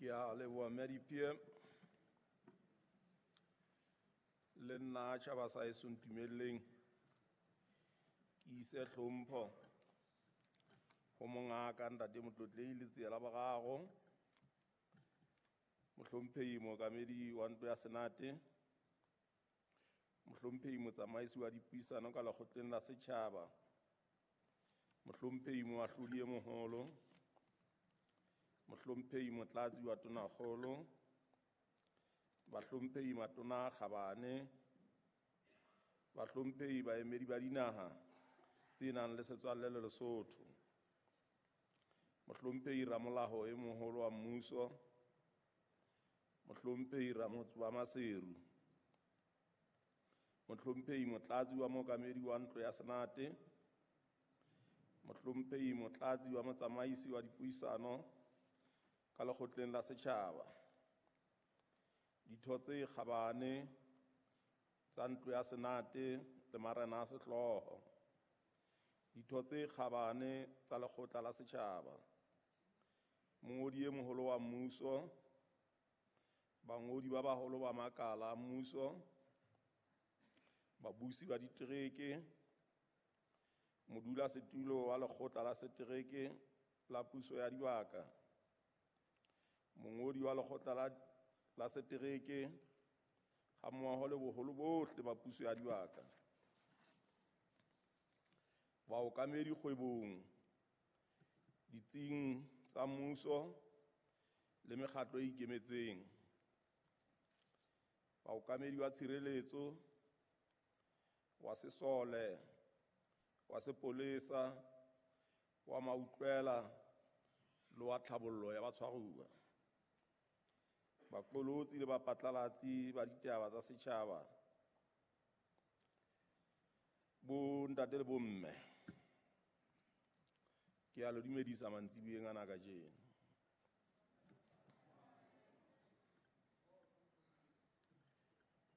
Ke a leboha mme Diphie. Le nna tjhaba sa heso ntumelleng ke ise hlompho ho mongaka ntate Motlotlehi Letsie la Boraro, mohlomphehi mookamedi wa ntlo ya Senate, mohlomphehi motsamaisi wa dipuisano ka lekgotleng la setjhaba, mohlomphehi moahlodi e moholo, mohlomphehi motlatsi wa tonakgolo, bahlomphehi matona a kgabane, bahlomphehi baemedi ba dinaha tse nang le setswalle le Lesotho, mohlomphehi ramolao e moholo wa mmuso, mohlomphehi ramotse wa Maseru, mohlomphehi motlatsi wa mookamedi wa ntlo ya Senate, mohlomphehi motlatsi wa motsamaisi wa dipuisano ka lekgotleng la setjhaba, ditho tse kgabane tsa ntlo ya Senate le marena a sehlooho, ditho tse kgabane tsa lekgotla la setjhaba, mongodi e moholo wa mmuso, bangodi ba baholo ba makala a mmuso, babusi ba ditereke, modulasetulo wa lekgotla la setereke la puso ya dibaka, mongodi wa lekgotla la setereke hammoho le boholo bohle ba puso ya dibaka, baokamedi kgwebong, ditsing tsa mmuso le mekgatlo e ikemetseng, baokamedi ba tshireletso, wa sesole, wa sepolesa, wa mautlwela le wa tlhabollo ya batshwaruwa, baqolotsi le baphatlalatsi ba ditaba tsa setjhaba, bo ntate le bomme, ke a le dumedisa mantsiboyeng ana kajeno.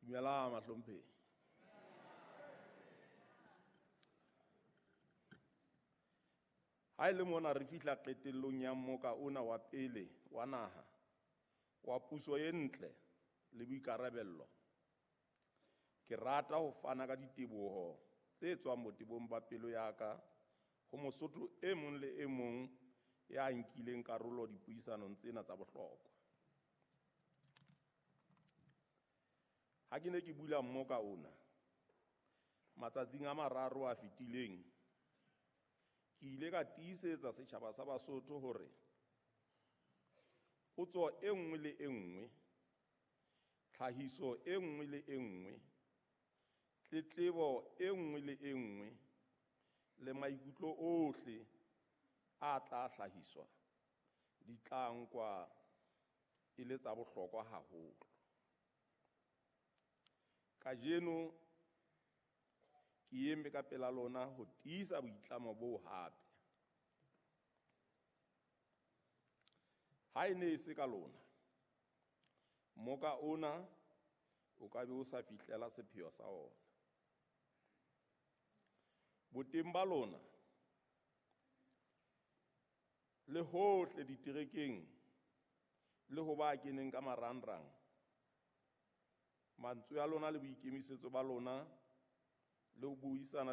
Dumelang mahlomphehi. Ha e le mona re fihla qetellong ya mmoka ona wa pele wa naha wa puso e ntle le boikarabello, ke rata ho fana ka diteboho tse tswang botebong ba pelo ya ka ho Mosotho e mong le e mong ya nkileng karolo dipuisanong tsena tsa bohlokwa. Ha ke ne ke bula mmoka ona matsatsing a mararo a fetileng, ke ile ka tiisetsa setjhaba sa Basotho hore potso e nngwe le e nngwe, tlhahiso e nngwe le e nngwe, tletlebo e nngwe le e nngwe le maikutlo ohle a tla hlahiswa di tla nkwa e le tsa bohlokwa haholo. Kajeno ke eme ka pela lona ho tiisa boitlamo boo hape. Ha e ne e se ka lona, mmoka ona o ka be o sa fihlela sepheo sa ona. Boteng ba lona le hohle diterekeng le ho ba keneng ka marangrang, mantswe a lona le boikemisetso ba lona le ho buisana